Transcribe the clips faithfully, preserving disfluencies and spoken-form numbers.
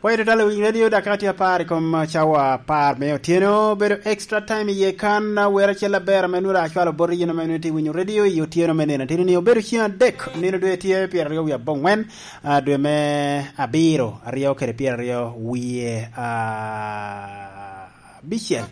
Pwod itye tye i Winy Radio, dakika tye apar i kom cawa apar me otyeno. Bedo extra time iye kan, a, wer acel aber ame nwoŋo acwalo bot yin ame nwoŋo itye winyo radio i otyeno me nino. Tino ni obedo ceng adek, nino dwe tye pyeraryo wie aboŋwen, a, dwe me abiro, aryo kede pyeraryo wie, a, abicel.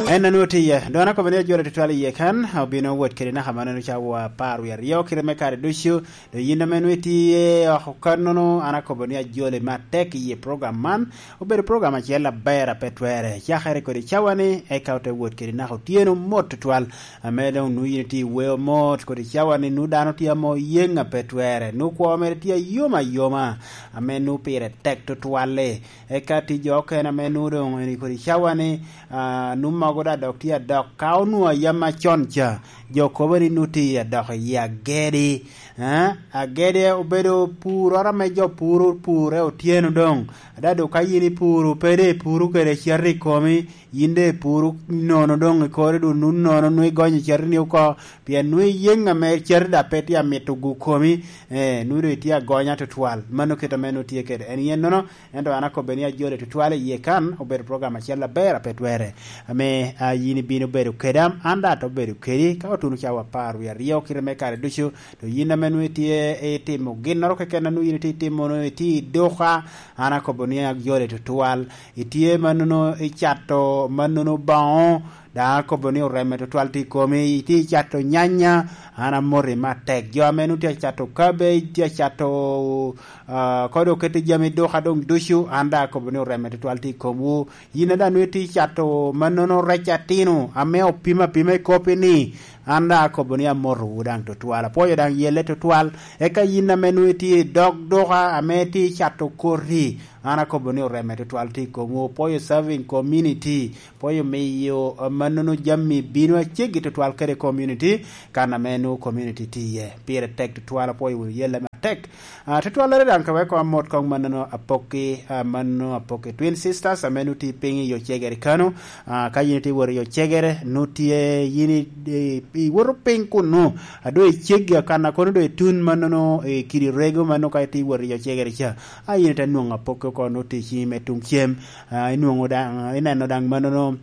En a nwoŋo tye iye. Dong an akobo ni ajolo tutwal iye kan, obino wot kede naka mannono cawa apar wie aryo, kite me kare ducu. Dong yin ame nwoŋo itye oko kannono, an akobo ni ajoli me atek i yi program man. Obedo program acel aber a pe twerre. Cakere kodi cawa-ni, eka ote wot kede naka otyeno mot tutwal. Ame dong nwoŋo yin itye i weo mot kodi cawa-ni, nwoŋo dano tye ame oyeŋ a pe twerre. Nwoŋo kwo mere tye ayom ayoma, ame nwoŋo pire tek tutwal-li. Eka tye jo okene ame nwoŋo dong eni kodi cawa-ni, a, nwoŋo mogo da dok tye adok. Ka onwoŋo a yam acon ca, jo kobo ni nwoŋo tye adok i yi agedi. Eh, agede obedo puroro ame jo puro pure otyeno doŋ. Ada doŋ ka yin ipuro, pe doŋ ipuro kede cati i komi, yin doŋ ipuro nono doŋ i kori doŋ nun nono, nwoŋo igonyo catini oko, pien nwoŋo iyeŋ ame cati daŋ pe tye amito gu komi, eh, nwoŋo doŋ itye agonya tutwal. Mano kit ame nwoŋo tye kede en yennono, ento an akobbe ni ajoli tutwal i yie kan, obedo program acel aber a pe twerre, ame, a, yin ibino bedo keda, an daŋ ato bedo kedi, ka otuno cawa apar wie aryo kite me kare ducu, to yin ame nwoŋo itye itimo ginnoro keken a nwoŋo yin itye itimo, nwoŋo itye i duka, an akobo ni ajoli tutwal. Itye mannono icato mannono boŋo, daŋ akobo ni oreme tutwal tye i komi. Itye icato nyanya, an amoti matek. Jo ame nwoŋo tye acato cabbage, tye acato, a, kodo oketi jami duka doŋ ducu, an daŋ akobo ni oreme tutwal tye i komwu. Yin a daŋ nwoŋo itye icato mannono rec atino ame opim apima i kopi-ni, an daŋ akobo ni amotowu daŋ tutwal. Apwoyo daŋ yelle tutwal. Eka yin ame nwoŋo itye i dog duka ame itye icato koti, an akobo ni oreme tutwal tye i komwu. Apwoyo serving community, apwoyo miyo, eh, mannono jami bino aceggi tutwal kede community, kan ame nwoŋo community tye iye. Pire tek tutwal, apwoyo wunu yelle matek. Ah, tutwallere daŋ ka weko amot koŋ mannono Apokki, ah, mannono Apokki Twin Sisters, ame nwoŋo tye piny i Ocegere kano. Ah, ka yin itye wot i Ocegere, nwoŋo tye yin i, i, iwoto piny kunnu. A doŋ iceggi akan a kono doŋ itun mannono i kidi rego ma nwoŋo ka itye wot i Ocegere ca. A yin ite nwoŋo Apokki oko, nwoŋo tye i ciŋi me tuŋ cem. Ah, inwoŋo daŋ, ineno daŋ mannono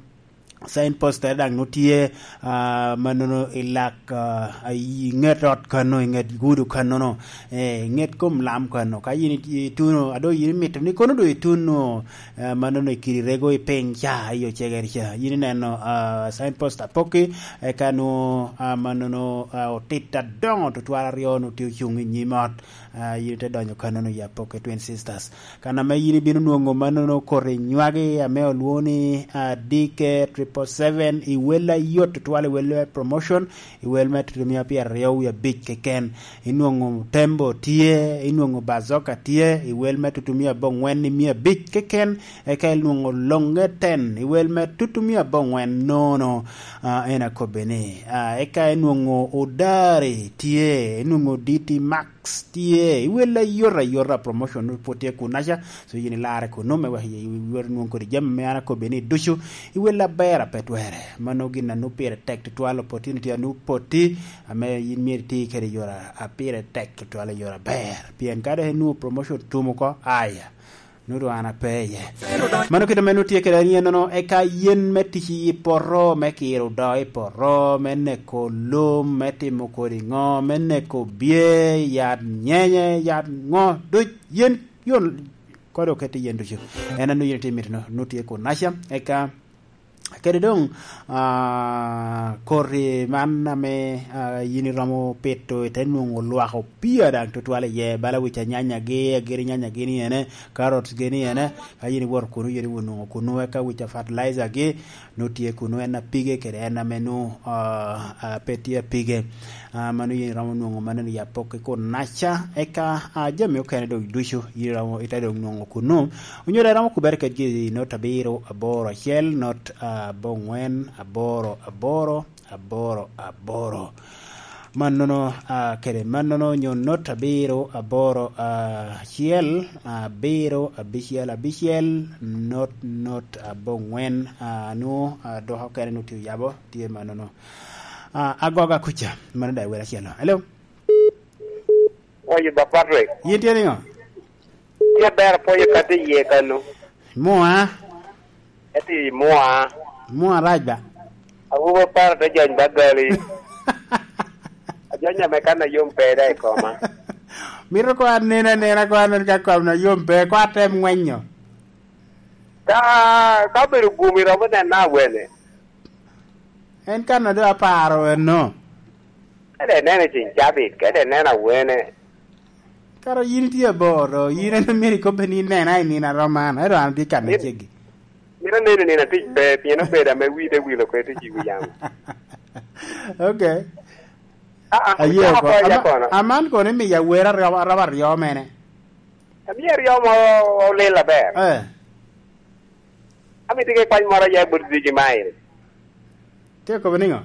signpost tere daŋ nwoŋo tye, ah, mannono i lak, ah, i ŋet ot kano, i ŋet gudo kanono, eh, i ŋet kom lam kano. Ka yin itye ituno, a doŋ yin imito ni kono doŋ ituno, eh, mannono i kidi rego i piny ca, i Ocegere ca. Yin ineno, ah, signpost Apokki, eka nwoŋo, ah, mannono, ah, otit adoŋo tutwal aryo nwoŋo tye ocuŋ i nyim ot. Ah, yin ite donyo kanono i Apokki Twin Sisters. Kan ame yin ibino nwoŋo mannono koti nywagi ame olwoŋo ni, ah, D K triple seven, i wel ayot tutwal, i wel me promotion, i wel me tutumia pyeraryo wie abic keken. Inwoŋo Tembo tye, inwoŋo Bazoka tye, i wel me tutumia aboŋwen i mia abic keken, eka inwoŋo Loŋe ten, i wel me tutumia aboŋwen nono, ah, en akobbe ni. Ah, eka inwoŋo Odari tye, inwoŋo D T Max tye, i wel ayot ayot a promotion pwod tye kunaca, so yin ilarre kunnu me wek iwot inwoŋ kodi jami ame an akobbi ni ducu, i wel aber a pe twerre. Mano gin a nwoŋo pire tek tutwal, opportunity a nwoŋo poti, ame yin myero iti kede i yore a pire tek tutwal, i yore aber. Pien ka dok inwoŋo promotion tum oko, aya, nwoŋo doŋ an ape iye. Mano kit ame nwoŋo tye kede anyennono, eka yen me tic i poto, me kiro do i poto, me neko lum, me timo kodi ŋo, me neko bye, yat nyenye, yat ŋo, duc yen, yon, kodi oketi yen ducu. En a nwoŋo yin itye mito-nu, nwoŋo tye kunaca, eka kede doŋ, ah, koti man ame, ah, yin iromo pito, ite nwoŋo lwak opia daŋ tutwal iye, bala wic anyanyagi, agiri nyanyagi ni ene, carrots gi ni ene, ka yin iwoto kunu, yin iwot nwoŋo kunu, eka wic a fertilizer gi, nwoŋo tye kunu, en apige kede en ame nwoŋo, ah, ah, pe tye apige. Ah, mano yin iromo nwoŋo mannono i Apokki kunaca, eka, ah, jami okene doŋ ducu, yin iromo ite doŋ nwoŋo kunu. Onyo dok iromo kubere kedgi i not abiro aboro acel, not aboŋwen aboro aboro, aboro aboro. Mannono, ah, kede mannono onyo not abiro aboro acel, abiro abicel abicel, not, not aboŋwen, ah, nwoŋo, ah, dok okene nwoŋo tye oyabo, tye mannono. Ah, agoga kuca, mano daŋ wele acel. Hello? Oye, ba Patrick. Yin tye niŋo? Tye ber apwoyo ka tye iye kano. Mua. Eti mua. Mua rac ba. Awobo aparo te jony ba gali. Ajony ame kan ayom pe da i koma. Mito ko anen anena ko anen ka kom na yom pe, ko atem ngwenyo. Ka, ka obedo gumi romo nena awene. En kan ado aparo eno. Kede nene cin cabit, kede nene awene. Kara yin itye abor, do yin en myero ikobbe ni inena i nino arom man, ento an atye kan Yin- aceggi. Mito neno nino atic pe, pien obedo ame wide wilo kede tic i wi yamo. Okay. Ah, ah, Aye, ocako ko. Apoya Ama-, kono. Aman kono imiyo awera aryo, araba aryo mene. Amiyo aryo mo olil aber. Eh. Amito ke kwany moro ya but Ziggy Mile. Te kobo ningo?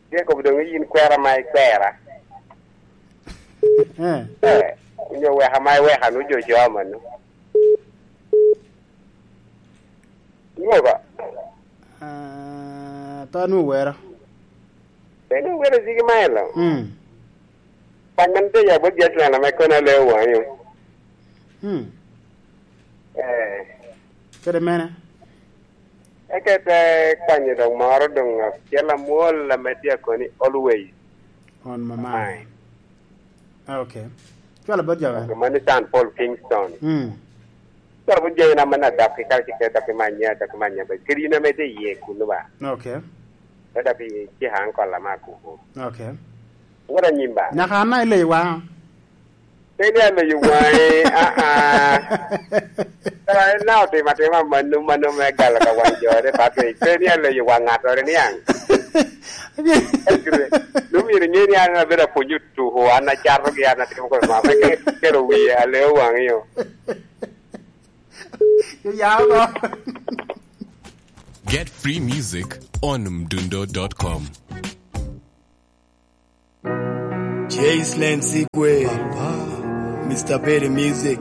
Te kobo dong yin kwera ma ikwera. Eh. Eh, onyo weka ma iweka nu jo jo manu. Ingo ba? Ah, pe anwoŋo wero. Pe anwoŋo wero Ziggy Mile. Mm. Kwan man te ya bot Jetland ame kono aleo waŋe. Mm. Eh. Kede mene? Eke te kwanyo dok moro doŋ acel amwol ame tye akoni always. On my mind. Mind. Ah, okay. Cwalo bot jo bene. Mano San Paul Kingston. Mm. Cwalo bot jo ina man adok i kare cikere dok imanya, dok imanya ba. Kadi in ame tye iye kuno ba. Okay. Pe dok i cika ankol ama kuku. Okay. Wot anyim ba. Nyaka an na ileyo waŋa. Pe ni aloyo waŋe, ah, ah. Kara en na otimo atima mano, mano me galo ka waŋ jore, Patrick. Pe ni aloyo waŋ ŋattoro niaŋ. Lumyero ŋe ni an abedo apwonyo tuko, an acato gi, an atimo kodi ŋo, pe ke-, kelo wie, aleo waŋi yo. Yo, ya oko. Get free music on mdundo dot com. Jace Lane Sigwe, Mister Berry Music.